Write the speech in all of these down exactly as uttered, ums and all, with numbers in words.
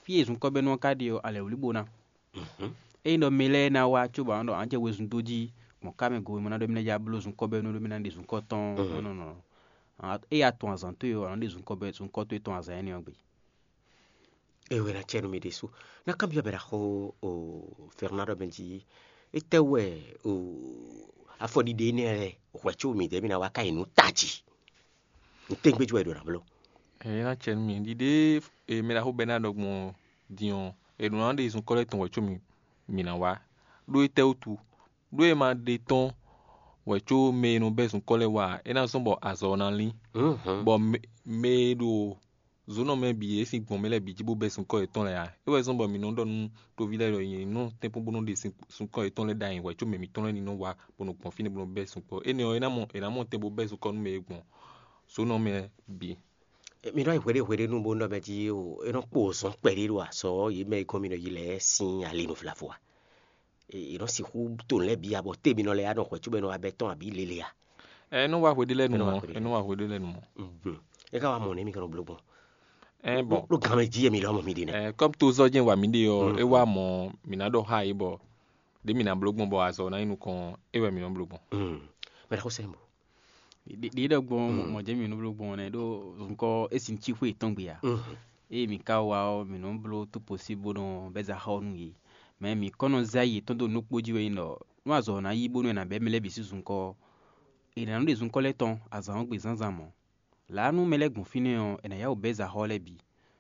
Fí e zunkɔ́bɛ́nú ɔ́ ka ɖe ɔ́, alɛwlíbo ná. Ényí ɖɔ mɛ lɛ́ɛ ná wá cóbɔ a nǎ ɖɔ a nǎ jɛ wezun dó jí gbɔn ká mɛ go e mɔ ná ɖɔ mì ná ja bló zunkɔ́bɛ́nú ɖó mì ná ɖe zunkɔ́ tɔn ɔ́, nɔ nɔ ée a tunwun azǎn towe ɔ́, a nǎ ɖe zunkɔ́ bɛ́ zunkɔ́ towe tɔn azǎn énɛ́ ɔ́ gbe. É wɛ ná cɛ nú mì ɖésú. Ná kanbyɔ́ mɛ ɖaxó o Fernando mɛ jí. Étɛ́ wɛ o afɔɖiɖe énɛ́ lɛ́ɛ hwɛ̌ có mǐdɛɛ mì ná wá ká nyi nǔ tají? Nǔtɛ́ngbéjú wɛ è ɖǒ ná bló? Ɛ é ná cɛ nú mì ɖiɖe e mɛ ɖaxó bɛ́ ná ɖɔ gbɔn din ɔ́, è ɖǒ ná ɖe zunkɔ́ lɛ́ɛ tɔn wɛ có mì mǐ ná wá. Ɖó étɛ́ wútu? Ɖó è ma ɖe tɔ́n wɛ có mɛ e nɔ bɛ́ zunkɔ́ lɛ́ɛ wá ǎ, é ná zɔ́n bɔ azɔ̌ ɔ́ ná lín, bɔ mɛ e ɖo zǒnɔ mɛ bǐ e sín gbɔn mɛ lɛ́ɛ bǐ jí bó bɛ́ zunkɔ́ yětɔn lɛ́ɛ ǎ. É wɛ zɔ́n bɔ mǐ nɔ ɖɔ nú toví lɛ́ɛ ɖɔ yě nɔ tɛ́nkpɔ́n bó nɔ ɖe zunkɔ́ yětɔn lɛ́ɛ ɖ'ayǐ wɛ có mɛ mǐtɔn lɛ́ɛ ní nɔ wá bó nɔ gbɔn fínɛ́ bó nɔ bɛ́ zunkɔ́. Énɛ́ ɔ́, é ná mɔ è nǎ mɔ tɛn bó bɛ́ zunkɔ́ nú mɛ e gbɔn zǒnɔ mɛ bǐ. Mi nɔ yi hweɖéhweɖé nú bó nɔ mɛ jí o, é nɔ kpo zɔn kpɛɖé ɖo azɔ̌ yě mɛ e gɔ́n mi nɔ yi lɛ́ɛ sín ali nǔ vlavo a? È nɔ sixú to nǔ lɛ́ɛ bǐ abɔ té mi nɔ lɛ́ ya nɔ hwɛ̌ cóbɔ è nɔ wá bɛ́ tɔn abǐ lele a? Ɛ é nɔ wá hweɖé lɛ́ɛ nu mɔ̌, é nɔ wá hweɖé lɛ́ɛ nu mɔ̌. É ka wá mɔ nɛ̌ mi ka nɔ bló gbɔn? Ɛ bɔn Ɖó gan mɛ jí wɛ mi lɔmɔ mi ɖe nɛ́. Ɛ kɔ́m tó zɔ́ jɛ́n wa mǐ ɖe ɔ́, é wá mɔ mǐ ná ɖɔ xá yě bɔ ɖě mǐ ná bló gbɔn bɔ azɔ̌ ná nyí nukɔn ɔ́, é wɛ mǐ nɔ bló gbɔn. Mɛ ɖaxó sɛ́n bo. Ɖě ɖě ɖɔ gbɔn mɔ̌ jɛ́n mǐ nɔ bló gbɔn nɛ́ ɖó zunkɔ́ é sin cí xwé yětɔn gbe ǎ. Ée mǐ ka wá ɔ́, mǐ nɔ́ bló tout possible bó nɔ bɛ́ za xá ɔ́ nú yě. Mɛ mǐ kɔ́ nɔ zé ayi yětɔn dó nǔ ɖokpó jí wɛ nyí ɖɔ nú azɔ̌ ɔ́ ná yí bónú è nǎ bɛ́ mɛ lɛ́ɛ bǐ sín zunkɔ́ ɔ́, è nǎ nɔ́ ɖe zunkɔ́ lɛ́ɛ tɔn azǎn ɔ́ gbe zǎnzǎn mɔ̌. Lǎ nú mɛ lɛ́ɛ gbɔn fínɛ́ ɔ́, è nǎ yá wǔ bɛ́ zaxɔ́ lɛ́ɛ bǐ.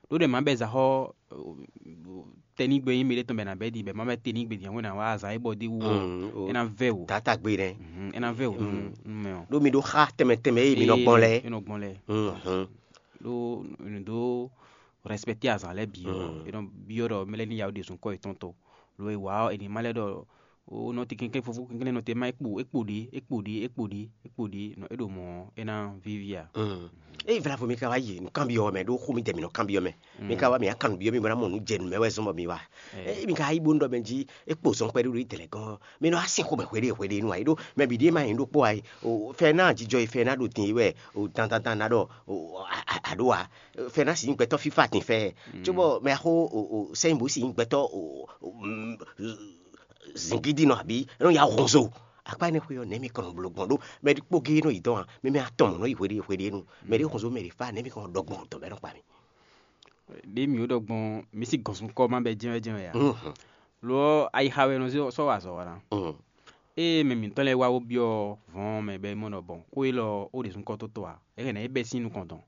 Ɖó ɖɛ mǎ bɛ́ zaxɔ́ tɛ́nigbe nyí mɛ ɖé tɔn bɔ è nǎ bɛ́ ɖi bɔ è má bɛ́ tɛ́nigbe din ɔ́, è nǎ wá azǎn e bɔ d'é wú ɔ́, é ná vɛ́ wǔ. Tatagbe nɛ́. Mhm, é ná vɛ́ wǔ nú nú mɛ ɔ́. Ɖó mi ɖó xá tɛnmɛ tɛnmɛ e mi nɔ gbɔn lɛ́ɛ. É nɔ gbɔn lɛ́ɛ. Mhm. Ɖó nǔ dó rɛspɛkté azǎn lɛ́ɛ bǐ ɔ́, é nɔ byɔ́ ɖɔ mɛ lɛ́ɛ ní ya wǔ ɖe zunkɔ́ yětɔn tó. Lo e wǎ ɔ́, è nǐ má lɛ́ ɖɔ ó nɔ te kɛnklɛ́n fofó kɛnklɛ́n nɔ te má é kpo é kpo ɖě é kpo ɖě é kpo ɖě é kpo ɖě nɔ é ɖo mɔ̌ ɔ́, é ná víví a? Ée vlavo mi ka wá yi nǔkanbyɔ́ mɛ ɖó xó mi dɛ mi nɔ kanbyɔ́ mɛ, mi ka wá mi wá kan nǔ byɔ́ mi bó ná mɔ nǔ jɛ nǔ mɛ wɛ zɔ́n bɔ mi wá. Ée mi ka yí bó nú ɖɔ mɛ jí é kpo zɔn kpɛɖé ɖo yi dɛ̌lɛ̌ gɔ́n ɔ́, mi nɔ wá sin xomɛ hweɖée hweɖée nú ǎ é ɖó mɛ bǐ ɖíe ma nyí ɖokpó ǎ é. Fɛ ná jijɔ e fɛ ná ɖo din é wɛ dandandan ná ɖɔ aɖó ǎ. Fɛ ná sin gbɛtɔ́ fífá din fɛ cóbɔ mɛ xó sɛ́nyí bó sin gbɛtɔ́ zingídínɔ abǐ é nɔ ya hɔnzo. Akpá énɛ́ xwé ɔ́, nɛ̌ mi kɔn nɔ bló gbɔn ɖó mɛ ɖokpó géé nɔ yi dɔn ǎ, mɛ mɛ atɔn mɔ̌ nɔ yi hweɖée hweɖée nu. Mɛ ɖě xɔnzo mɛ ɖě fá, nɛ̌ mi kɔn nɔ ɖɔ gbɔn dɔ̌n bɔ é nɔ kpa mi? Ɖě mǐ ɖɔ gbɔn mǐ sí gɔ̌n sun kɔ́ má bɛ́ jɛ́n wɛ jɛ́n wɛ ǎ. Lo ɔ́, ayixa wɛ nɔ sɔ́ wá azɔ̌ wa ná. Ée mɛ mǐtɔn lɛ́ɛ wá wó byɔ́ vɔ̌ɔn mɛ bɔ é mɔ ɖɔ bɔn xó élɔ́ ó ɖe sun kɔ́ tó tɔn ǎ, é hɛn ná é bɛ́ sín nukɔn dɔn.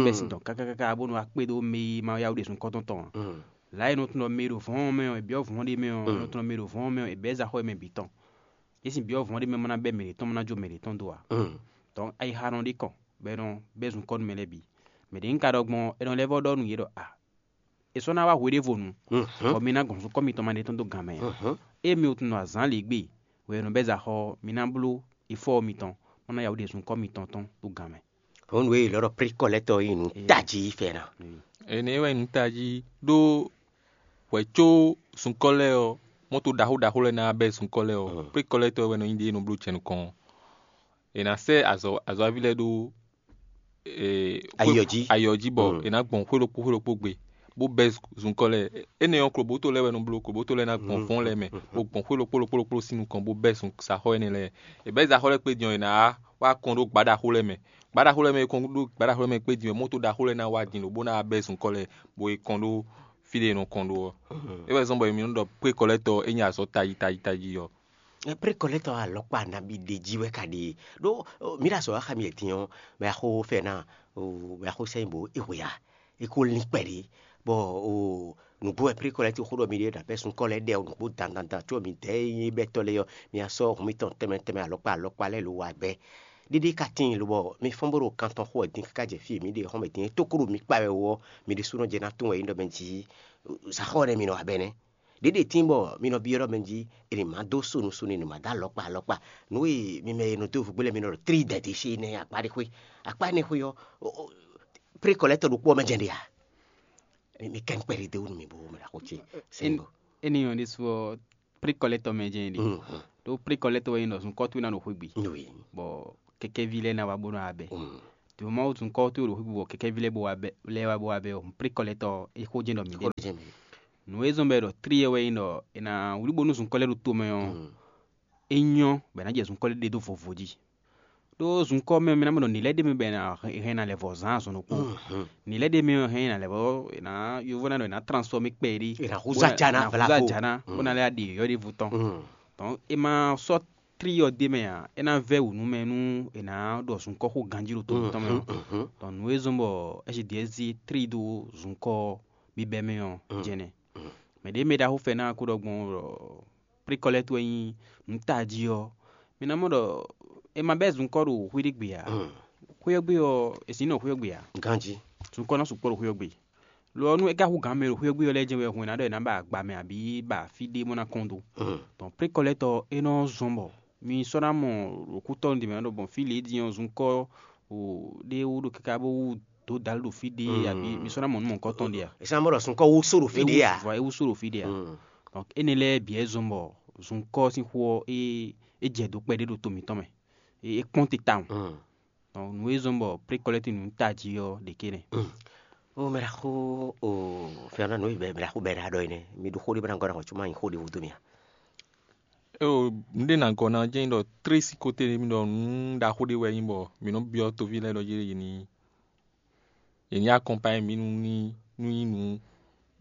Bɛ́ sín dɔn káká káká bónú wá kpédó mɛ e ma yá wó ɖe sun kɔ́ tɔn tɔn ǎ. Lǎ e nɔ tunwun ɖɔ mɛ e ɖo vɔ̌ɔn mɛ ɔ́, è byɔ́ vɔ̌ɔn ɖé mɛ ɔ́, è nɔ tunwun ɖɔ mɛ e ɖo vɔ̌ɔn mɛ ɔ́, è bɛ́ za xɔ e mɛ bǐ tɔn. É sin byɔ́ vɔ̌ɔn ɖé mɛ ma ná bɛ́ mɛ ɖě tɔn mɔ ná jó mɛ ɖě tɔn dó ǎ. Dɔ̌n ayixa nɔ ɖi kɔn bɔ è nɔ bɛ́ zunkɔ́ nú mɛ lɛ́ɛ bǐ. Mɛ ɖě un ka ɖɔ gbɔn ɔ́, è nɔ lɛ́ vɔ́ ɖɔ nú yě ɖɔ a, è sɔ́ ná wá hweɖévonu, bɔ mi ná gɔn zunkɔ́ mitɔn ma ɖe tɔn dó gan mɛ ǎ. Ée mi tunwun azǎn lě gbe wɛ è nɔ bɛ́ za xɔ ɔ́, mi ná bló ifɔ́ mitɔn, bó ná ya wú ɖe zunkɔ́ mitɔn tɔn dó gan mɛ. Hɔn nǔ e è lɔ ɖɔ pré kɔlɛ́tɔ e nyí nǔ tají fɛ́ ná. Énɛ́ wɛ nǔ tají ɖó hwɛ̌ có zunkɔ́ lɛ́ɛ ɔ́, mɔto ɖaxó ɖaxó lɛ́ɛ ná bɛ́ zunkɔ́ lɛ́ɛ ɔ́, pré kɔlɛ́tɔ wɛ nɔ nyí ɖě e nɔ bló jɛ nukɔn ɔ́. È nǎ sɛ́ azɔ̌ azɔ̌ví lɛ́ɛ ɖó Ayɔ jí. Ayɔ jí bɔ è nǎ gbɔn xwé ɖokpó xwé ɖokpó gbe, bó bɛ́ zunkɔ́ lɛ́ɛ. Énɛ́ ɔ́, klobǒto lɛ́ɛ wɛ nɔ bló, klobǒto lɛ́ɛ ná gbɔn fɔ́n lɛ́ɛ mɛ, bó gbɔn xwé ɖokpó ɖokpó ɖokpó sín nukɔn, bó bɛ́ zun saxɔ énɛ́ lɛ́ɛ. È bɛ́ zaxɔ lɛ́ɛ kpé din ɔ́, è nǎ wá kɔn ɖó gbǎ ɖaxó lɛ́ɛ mɛ. Gbǎ ɖaxó lɛ́ɛ mɛ e kɔn ɖó gbǎ ɖaxó lɛ́ɛ mɛ kpé din ɔ́, mɔto ɖaxó lɛ́ɛ ná wá din lǒbó ná wá bɛ́ zunkɔ́ lɛ́ɛ, bó yi kɔn ɖó fí ɖé è nɔ kɔn ɖó ɔ́. É wɛ zɔ́n bɔ mi nɔ ɖɔ pré kɔlɛ́tɔ e nyí azɔ̌ tají tají tají ɔ́. Pré kɔlɛ́tɔ alɔkpa nabí ɖe jí wɛ ka ɖe? Ɖó mǐ ɖo azɔ̌ wa xá mi din ɔ́, mɛ axó fɛ ná, mɛ axó sɛ́n bo é hwe a? É ko lín kpɛɖé, bɔ nǔgbó wɛ pré kɔlɛ́tɔ xó ɖɔ mi ɖe ɖo abɛ́ sunkɔ́ lɛ́ɛ ɖɛ nǔgbó dandandan có mi dɛ̌ e nyí bɛ́tɔ́ lɛ́ɛ ɔ́, mi wá sɔ́ hun mitɔn tɛnmɛ tɛnmɛ alɔkpa alɔkpa lɛ́ɛ lo wa gbɛ. Ɖéɖé ka tíin lobɔ mi fɔ́n bó ɖo kan tɔn xo wɛ din káká jɛ fí e mǐ ɖe xɔ́mɛ din é tókó ɖo mi kpa wɛ ó ɔ́, mi ɖésúnɔ jɛ ná tunwun wɛ é ɖɔ mɛ jí saxɔ nɛ́ mi nɔ wa bɛnɛ. Ɖěɖe tíin bɔ mi nɔ byɔ́ ɖɔ mɛ jí è nǐ má dó sonu sonu, è nǐ má dó alɔkpa alɔkpa. Nǔ e mi mɛ e nɔ dó vǔgbé lɛ́ɛ mi nɔ ɖɔ tlí dɛ̌dě xé nɛ́ akpá ɖé xwé. Akpá énɛ́ xwé ɔ́, pré kɔlɛ́tɔ ɖokpó ɔ́ mɛ jɛ́n ɖe a? Mi kɛn kpɛɖé dó nú mi bó mɛ ɖo axó ce. Sɛnbɔ. Énɛ́ ɔ́ ɖésú ɔ́, pré kɔlɛ́tɔ mɛ jɛ́n ɖe. Ɖó pré kɔlɛ́tɔ wɛ nyí ɖɔ zunkɔ́ towe ná ɖo xwé gbe. Bɔ kɛkɛ́ví lɛ́ɛ ná wá bó ná wá bɛ́. Vǐ Mawu zunkɔ́ towe ɖo xwígbe bɔ kɛkɛ́ví lɛ́ɛ bó wá bɛ́ lɛ́ɛ wá bó wá bɛ́ ɔ́, Pré Kɔlɛ́tɔ é xó jɛ́n ɖɔ mǐ ɖe. Nǔ e zɔ́n bɔ è ɖɔ trí e wɛ nyí ɖɔ è nǎ wlí bónú zunkɔ́ lɛ́ɛ ɖo tomɛ ɔ́, é nyɔ́ bɔ è nǎ jɛ zunkɔ́ lɛ́ɛ ɖe dó vovo jí. Ɖó zunkɔ́ mɛ mi ná mɔ ɖɔ nǐ lɛ́ɛ ɖ'é mɛ bɔ è nǎ hɛn ná lɛ́ vɔ̌ zán azɔn ɖokpó. Nǐ lɛ́ɛ ɖ'é mɛ ɔ́ hɛn ná lɛ́ vɔ̌ è nǎ yovó ná ɖɔ è nǎ transfɔmé kpɛɖé. È nǎ húzú ajá ná bó ná húzú ajá ná bó ná lɛ́ ɖi yɔ̌yɔ́ ɖěvo tɔn. Tɔn è ma sɔ́ tlí ɔ́ d'é mɛ ǎ, é ná vɛ́ wǔ nú mɛ nú è nǎ ɖɔ zunkɔ́ xó ganjí ɖo to mǐtɔn mɛ ɔ́. Tɔn nǔ e zɔ́n bɔ ɛ́ zi ɖi ɛ́ zé tlí dó zunkɔ́ bíbɛ́ mɛ ɔ́ jɛnɛ. Mɛ ɖě mɛ ɖaxó fɛ ná ko ɖɔ gbɔn ɖɔ Pré Kɔlɛ́tɔ wɛ nyí nǔ tají ɔ́, mi ná mɔ ɖɔ è ma bɛ́ zunkɔ́ ɖo xwé ɖé gbe ǎ. Xwé ɔ́ gbe ɔ́, è sǐ nɔ xwé ɔ́ gbe ǎ. Ganjí. Zunkɔ́ ná sukpɔ́ ɖo xwé ɔ́ gbe. Lo ɔ́, nú é ka hú gǎn mɛ ɖo xwé ɔ́ gbe ɔ́ lɛ́ɛ jɛ́n wɛ hun è nǎ ɖɔ è nǎ ba agba mɛ abǐ ba fí ɖé bó ná kɔn dó. Tɔn Pré Kɔlɛ́tɔ é nɔ zɔ́n bɔ mi sɔ́ ná mɔ ɖo kútɔ́ ɖě mɛ ɖɔ gbɔn fí lě din ɔ́, zunkɔ́ o ɖé wú ɖo káká bó wú dǒ dǎlú ɖo fí ɖé abǐ mi sɔ́ ná mɔ nǔ mɔ̌hunkɔtɔn ɖé a? È sɔ́ ná mɔ ɖɔ zunkɔ́ wú só ɖo fí ɖé a? Vɔ é wú só ɖo fí ɖé a? Donc énɛ́ lɛ́ɛ bǐ wɛ zɔ́n bɔ zunkɔ́ sín xó ɔ́ é é jɛ dǒ kpɛɖé ɖo to mǐtɔn mɛ. É é kpɔ́n te tawun. Donc nǔ e zɔ́n bɔ Pré Kɔlɛ́ti nǔ tají ɔ́ ɖě ké nɛ́. Ó mɛ ɖaxó, o fɛ́nú nǔ e mɛ ɖaxó bɛ́ ɖá ɖɔ é nɛ́. Mi ɖo xó ɖé bó ná gɔ́ ná hɔn cóma nyi xó ɖěvo dó mì a? Éo, nǔɖé ná gɔ́ ná jɛ́n nyí ɖɔ tlé sín kóté mi ɖɔ nǔ ɖaxó ɖé wɛ nyí bɔ mǐ nɔ byɔ́ toví lɛ́ɛ ɖɔ yě ní yě ní akɔnpanyɛ mǐ nú ní nú nyí nǔ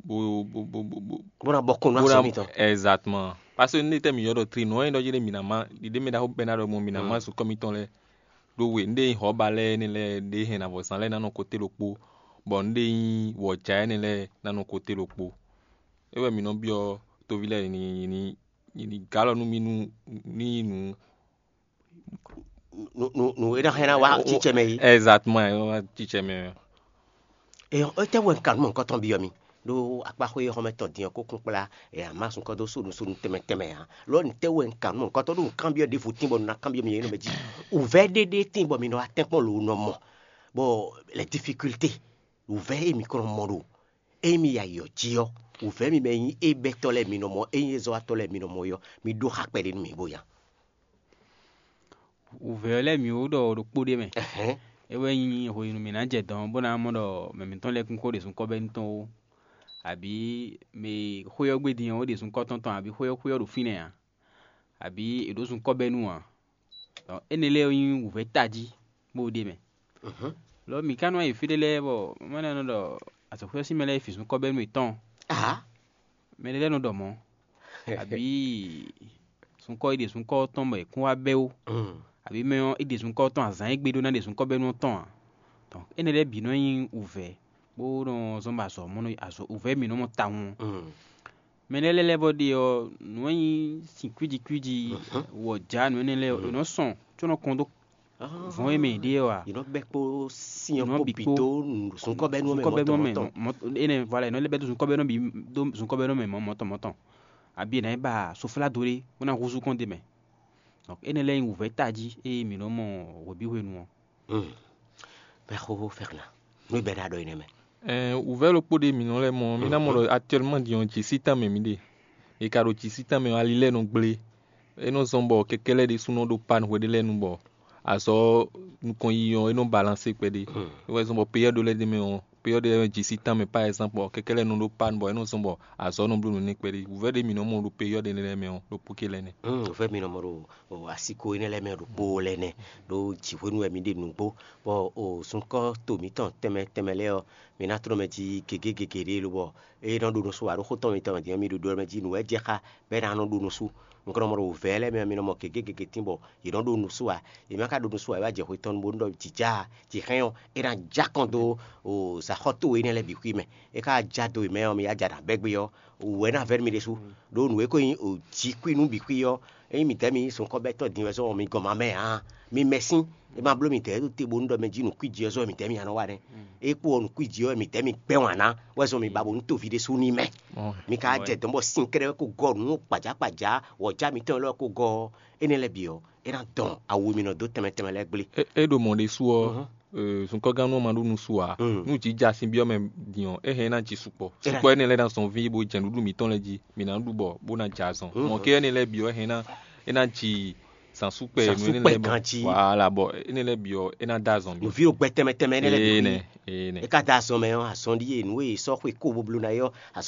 bó bó bó bó bó bó ná bɔ kɔn nú bó ná azɔ̌ mitɔn. Exactement. Parce que nú tɛ́ mǐ ylɔ́ ɖɔ tlé nǔ ɔ́ nyí ɖɔ yé ɖé mǐ ná má ɖiɖé mɛ ɖaxó bɛ́ ná ɖɔ gbɔn mǐ ná má zunkɔ́ mitɔn lɛ́ɛ ɖó we nú ɖé nyí hɔ̌ba lɛ́ɛ énɛ́ lɛ́ɛ ɖě hɛn nǎ vɔ zán lɛ́ɛ ná nɔ kóté ɖokpó, bɔ nú ɖé nyí wɔ̌já énɛ́ lɛ́ɛ ná nɔ kóté ɖokpó. É wɛ mǐ nɔ byɔ́ toví lɛ́ɛ ní ní ní gǎlɔ nú mì nú ní nyí nǔ. Nǔ nǔ nǔ e ná hɛn ná wá cícɛ mɛ yí. Exactement, é wá cícɛ mɛ. Eyɔ étɛ́ wɛ un ka nǔ mɔ̌hunkɔtɔn byɔ́ mi? Ɖó akpáxwé e xɔ́mɛ tɔn din ɔ́ ko kún kplá ɛ amasun kɔ́ dó sónusónu tɛnmɛ tɛnmɛ ǎ. Lɔ nǔtɛ́ wɛ un ka nǔ mɔ̌hunkɔtɔn ɖó un kanbyɔ́ ɖěvo tín bɔ un ná kanbyɔ́ mi nyɛ nɔ mɛ jí? Wǔvɛ́ ɖé ɖé tín bɔ mi nɔ wá tɛ́nkpɔ́n lǒ nɔ mɔ, bɔ la difficulté, wǔvɛ́ e mi kɔn nɔ mɔ ɖo ényí mi yi ayǐ ɔ́ jí ɔ́, wǔvɛ́ mi mɛ nyí é bɛ́tɔ́ lɛ́ɛ mi nɔ mɔ, ényí é zɔ́watɔ́ lɛ́ɛ mi nɔ mɔ é ɔ́, mi ɖó xa kpɛɖé nú mì bó nya. Wǔvɛ́ ɔ́ lɛ́ɛ mǐ ó ɖɔ ɖokpó ɖé mɛ. Ɛhɛn. É wɛ nyí hwenu mǐ ná jɛ dɔ̌n bó ná mɔ ɖɔ mɛ mǐtɔn lɛ́ɛ kún xó ɖě zunkɔ́ bɛ́ nú tɔn ó, abǐ mɛ e xwé ɔ́ gbe din ɔ́, ó ɖě zunkɔ́ tɔn tɔn, abǐ xwé ɔ́ xwé ɔ́ ɖo fínɛ́ ǎ, abǐ è ɖǒ zunkɔ́ bɛ́ nú ǎ. Dɔn énɛ́ lɛ́ɛ nyí wǔvɛ́ tají bó ɖ'é mɛ. Lɔ mǐ ka nɔ yi fí ɖé lɛ́ɛ bɔ má ná nɔ ɖɔ azɔ̌xwé ɔ́ sín mɛ lɛ́ɛ yi fi zunkɔ́ bɛ́ nú yětɔn ǎ. Mɛ ɖé lɛ́ɛ nɔ ɖɔ mɔ̌, abǐ zunkɔ́ e ɖe zunkɔ́ ɔ́ tɔn bɔ è kún wá bɛ́ ó, abǐ mɛ ɔ́ é ɖe zunkɔ́ ɔ́ tɔn azǎn e gbe ɖó ná ɖe zunkɔ́ bɛ́ nú ɔ́ tɔn ǎ. Dɔn énɛ́ lɛ́ɛ bǐ nɔ nyí wǔvɛ́ bó nɔ zɔ́n bɔ azɔ̌ mɔ nɔ azɔ̌ wǔvɛ́ mǐ nɔ mɔ tawun ɔ́. Mɛ lɛ́ɛ lɛ́ɛ lɛ́ɛ bɔ ɖe ɔ́, nǔ e nyí sin kwíji kwíji wɔ jǎ nǔ énɛ́ lɛ́ɛ è nɔ sɔn có nɔ kɔn dó vɔ̌n e mɛ è ɖe ɔ́ ǎ. Yě nɔ bɛ́ kpó sin ɔ́ Nǔ kpó bǐ bǐ kpó. Dó zunkɔ́bɛ́nú ɔ́ mɛ Zunkɔ́bɛ́nú mɛ mɔ̌tɔn mɔ̌tɔn. Énɛ́ voilà, è nɔ lɛ́ bɛ́ dó zunkɔ́bɛ́nú bǐ dó zunkɔ́bɛ́nú mɛ mɔ̌ mɔ̌tɔn mɔ̌tɔn. Abǐ è nǎ yi ba soflá dó ɖé bó ná húzú kɔn d'é mɛ. Donc énɛ́ lɛ́ɛ nyí wǔvɛ́ tají e mǐ nɔ mɔ hwebǐ hwenu ɔ́. Bɛ́ xóxó fɛ́xlá. Nú bɛ́ ɖá ɖɔ énɛ́ mɛ. Ɛɛ wǔvɛ́ ɖokpó ɖé mǐ nɔ lɛ́ mɔ ɔ́, mǐ ná mɔ ɖɔ actuellement din ɔ́ jǐ sí tánmɛ mǐ ɖe. È ka ɖo jǐ sí tánmɛ ɔ́, ali lɛ́ɛ nɔ gblé. É nɔ zɔ́n bɔ kɛkɛ́ lɛ́ɛ ɖésúnɔ ɖó pán hwe ɖé lɛ́ɛ nu bɔ azɔ̌ nukɔn yiyi ɔ́, é nɔ balansé kpɛɖé. É wɛ zɔ́n bɔ peyɔ́ ɖé lɛ́ɛ ɖ'é mɛ ɔ́, peyɔ́ ɖé lɛ́ɛ jǐ sí tánmɛ par exemple ɔ́, kɛkɛ́ lɛ́ɛ nɔ ɖó pán bɔ é nɔ zɔ́n bɔ azɔ̌ nɔ bló nǔ nɛ́ kpɛɖé. Wǔvɛ́ ɖé mǐ nɔ mɔ ɖo peyɔ́ ɖé lɛ́ɛ mɛ ɔ́, ɖokpó ké lɛ́ɛ nɛ́. Wǔvɛ́ mǐ nɔ mɔ ɖo asiko énɛ́ lɛ́ɛ mɛ ɖokpó lɛ́ɛ nɛ́, ɖó jǐhwenu wɛ mǐ ɖe nǔgbó, bɔ o sunkɔ́ to mǐtɔn tɛnmɛ tɛnmɛ lɛ́ɛ ɔ́, mǐ ná tlɔ́n mɛ jí gěgé gěgé ɖé lobɔ é nɔ ɖo nusú ǎ. Ɖó xó tɔn mitɔn mɛ din ɔ́, mǐ ɖo ɖo mɛ jí nǔ wɛ jɛ xá bɔ é ná nɔ ɖo nusú. Un ka nɔ mɔ ɖo wǔvɛ́ lɛ́ɛ mɛ ɔ́, mǐ nɔ mɔ gěgé gěgé tín bɔ yě nɔ ɖo nusú ǎ. Yě má ka ɖo nusú ǎ, é wá jɛ hwe tɔn bó nɔ ɖɔ jǐ já jǐ hɛn ɔ́, é ná já kɔn dó o zǎxɔ́ towe énɛ́ lɛ́ɛ bǐ xwí mɛ. É ka já dó yě mɛ ɔ́, mi yá ja nǎ bɛ́ gbé ɔ́, wǔ wɛ ná vɛ́ nú mi ɖésú. Ɖó nǔ e ko nyí o jǐ kwí nú bǐ xwí ɔ́, ényí midɛɛ mi sunkɔ́bɛ́tɔ́ din wɛ zɔ́n mi gɔn ma mɛ ǎ. Mi mɛ sín, é ma bló midɛɛ ɖó te bónú ɖɔ mɛ jí nǔ kwíji ɔ́ zɔ́n midɛɛ mi anɔ wa nɛ́. É kpó ɔ́ nǔ kwíji ɔ́ midɛɛ mi gbɛ́ wǎn ná wɛ zɔ́n mi ba bónú toví ɖésú ní mɛ. Mi ka jɛ dɔ̌n bɔ sín kɛ́ɖɛ́ ko gɔ́ nǔ kpajákpajá wɔ̌já mitɔn élɔ́ ko gɔ́ ɔ́, énɛ́ lɛ́ɛ bǐ ɔ́, é ná dɔn awu e mi nɔ dó tɛnmɛ tɛnmɛ lɛ́ɛ gblé. É é ɖo mɔ̌ ɖésú ɔ́, sunkɔ́gán nú ɔ́ ma ɖó nusú ǎ. Nú jǐ ja sin byɔ́ mɛ din ɔ́, é hɛn é ná ji sukpɔ́. Sukpɔ́ énɛ́ lɛ́ɛ ná zɔn ví bó jɛ nǔɖuɖu mǐtɔn lɛ́ɛ jí, mǐ ná ɖu bɔ bó ná jɛ azɔn. Mɔ̌ ké énɛ́ lɛ́ɛ bǐ ɔ́, é hɛn é ná é ná ji Tán súkpɛ, zǎn nú énɛ́ súkpɛ lɛ́ɛ bɔ ganjí. Wala bɔ énɛ́ lɛ́ɛ bǐ ɔ́, é ná dó azɔn bǐ. Nǔví ɖo gbɛtɛ́ mɛ tɛnmɛ énɛ́ lɛ́ɛ bǐ. Énɛ́, énɛ́. É ka dó azɔn mɛ ɔ́, azɔn ɖíe nǔ e è sɔ́ xwe kó bó bló ná é ɔ́,